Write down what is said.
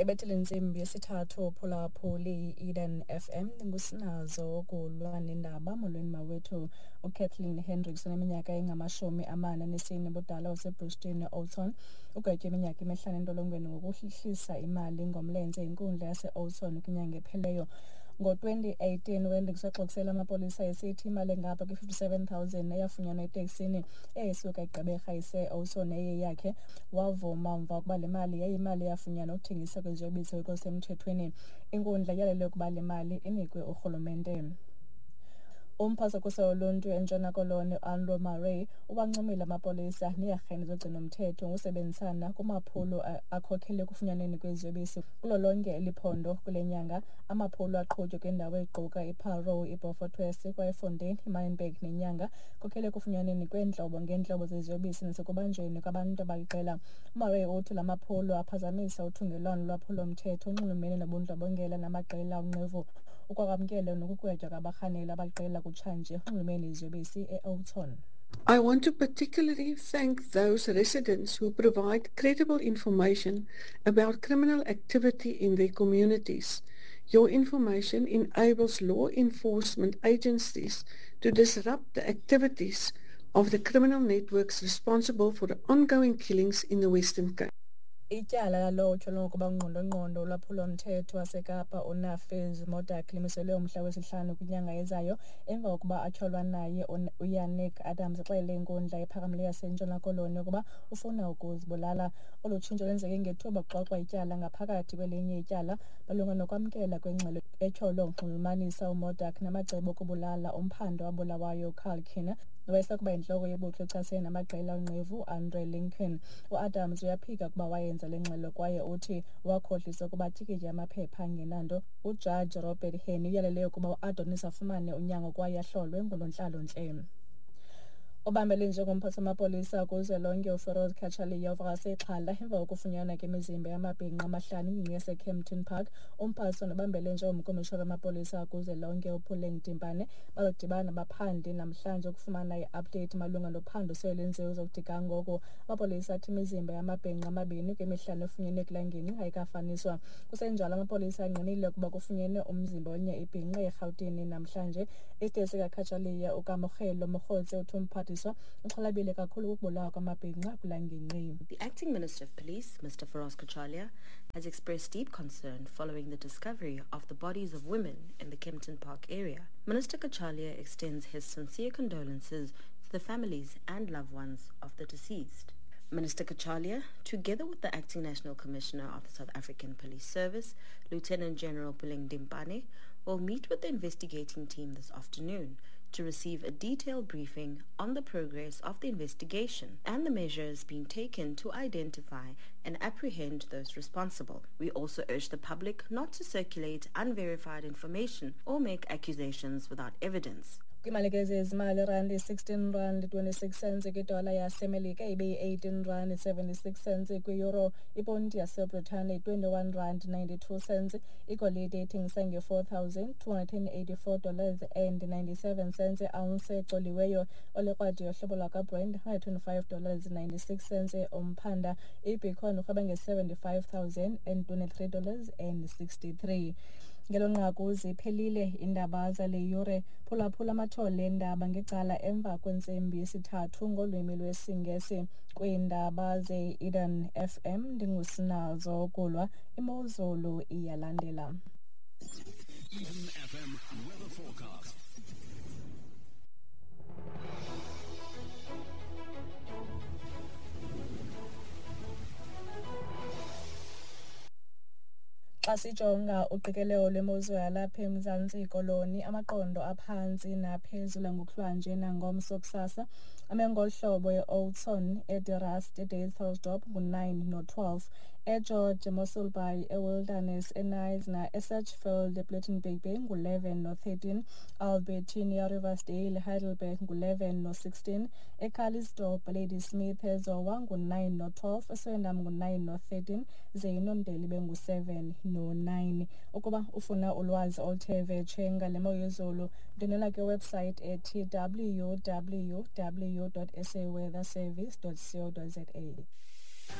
Ebethile intsimbi yesithathu. Phulaphuli, i-Eden FM, ngusinazo kulwa nendaba. Molweni mawethu. UKathleen Hendricks oneminyaka engama-44 ubudala waseBristol Oudtshoorn ugwetywe iminyaka 5 entolongweni ngokuhlisa imali ngomlenze inkundla yase-Oudtshoorn kwinyanga epheleyo. Ngo-2018 uHendricks waxoxisela amapolisa esithi imali engapha kwi-57 000 eyafunyanwa eteksini eyayisuka eGqeberha ise-Oudtshoorn eyeyakhe. Wavuma mva ukuba le mali yayimali eyafunyanwa ukuthengisa kweziyobisi ngokusemthethweni. Inkundla yalele ukuba le mali inikwe urhulumente. Umphathiswa woluntu eNtshona Koloni uAnro Murray uwancomile amapolisa neearhente zogcinomthetho ngokusebenzisana kumaphulo akhokhele ekufunyanweni kweziyobisi kulo lonke eli phondo kule nyanga. Amaphulo aqhutywe kwiindawo eziquka iParou, iBeaufort West, Kraaifontein, iManenberg neNyanga khokhele ekufunyanweni kweentlobo ngeentlobo zeziyobisi nasekubanjweni kwabantu abaliqela. UMurray uthi la maphulo aphazamisa uthungelwano lolwaphulo-mthetho onxulumene nobundlobongela namaqela onqevu. Ukwakwamkele nokugwetywa kwabarhanelwa abaliqela kutshanje onxulumene neziyobisi e-Oudtshoorn. I want to particularly thank those residents who provide credible information about criminal activity in their communities. Your information enables law enforcement agencies to disrupt the activities of the criminal networks responsible for the ongoing killings in the Western Cape. Ityala lalowo utyholwa ngokuba ngqondongqondo wolwaphulo-mthetho waseKapa uNafiz Modack limiselwe umhla wesihlanu kwinyanga ezayo emva kokuba atyholwa naye uYannick Adams exelele inkundla ephakamileyo yaseNtshona Koloni ukuba ufuna ukuzibulala. Olu tshintsho lwenzeke ngethuba kuxoxwa ityala ngaphakathi kwelinye ityala malunga nokwamkela kwengxelo etyholwa ukunxulumanisa uModack namacebo okubulala umphandi owabulawayo uCarl Kiener nowayesakuba yintloko yebutho echasene namaqela onqevu uAndre Lincoln. UAdams uyaphika ukuba wayenza le ngxelo kwaye uthi wakhohliswa ukuba atyikitye amaphepha angenanto. UJaji Robert Henny uyalele ukuba uAdonis afumane unyango kwaye ahlolwe ngunontlalontle. Obambele njengomphathi wamapolisa kuzwelonke uFeroz Cachalia uvakase ixhala emva kokufunyanwa kwemizimba yamabhinqa amahlanu kwingingqi yaseKempton Park. Umphathiswa nobambele njengomkomishona wamapolisa kuzwelonke uPuleng Dimpane bazodibana nabaphandi namhlanje ukufumana i-update malunga nophando sele lwenziwe uzokuthi ga ngoku. Amapolisa athi imizimba yamabhinqa amabini kwemihlanu efunyenwe kula ngingqi ayikafaniswa. Kusenjalo, amapolisa angqinile ukuba kufunyenwe umzimba wenye ibhinqa eRhawutini namhlanje. Isiteshi sikaCachalia uKamogelo Mogotsi uthi umphathiswa uxhalabile kakhulu kukubulawa kwamabhinqa kula ngingqi. The acting Minister of Police, Mr. Firoz Cachalia, has expressed deep concern following the discovery of the bodies of women in the Kempton Park area. Minister Cachalia extends his sincere condolences to the families and loved ones of the deceased. Minister Cachalia, together with the Acting National Commissioner of the South African Police Service, Lieutenant General Puleng Dimpane, will meet with the investigating team this afternoon to receive a detailed briefing on the progress of the investigation and the measures being taken to identify and apprehend those responsible. We also urge the public not to circulate unverified information or make accusations without evidence. Kwimali ke zezimali, irandi 16 rand 26 cents kwidola yaseMelika, ibe yi-18 rand 76 cents kwi-euro, iponti yaseBritane 21 rand 92 cents, igolide ithengisa nge-$4,284 dollars and 97 cents ounce ecoliweyo, olekrwada yohlobo lwakwaBrent $125 dollars 96 cents umphanda, ibitcoin urhweba nge-$75,023 dollars and 63. Ngelo nqaku ziphelile iindaba zale yure. Phulaphula amathole eendaba ngecala emva kwentsimbi yesithathu ngolwimi lwesiNgesi kwiindaba ze-Eden FM. Ndingusinazo Kulwa. Imozulu iyalandela. Eden FM weather forecast. Xa sijonga uqikelelo lwemozulu yalapha eMzantsi Koloni, amaqondo aphantsi naphezulu ngokuhlwanje nangomso kusasa ame ngolu hlobo: e-Oudtshoorn, eDe Rust, eDysselsdorp ngu-9 no-12, eGeorge, eMossel Bay, eWilderness, eKnysna, eSedgefield, ePlettenberg Bay ngu-11 no-13, Albertina, Riversdale, Heidelberg ngu-11 no-16, eCalitzdorp, Ladysmith, eZowa ngu-9 no-12, eSwellendam ngu-9 no-13, ze iNondeli ibe ngu-7 no-9. Ukuba ufuna ulwazi oluthe vetshe ngale mo yezulu, ndwendwela kwiwebsite ethi www.saweatherservice.co.za.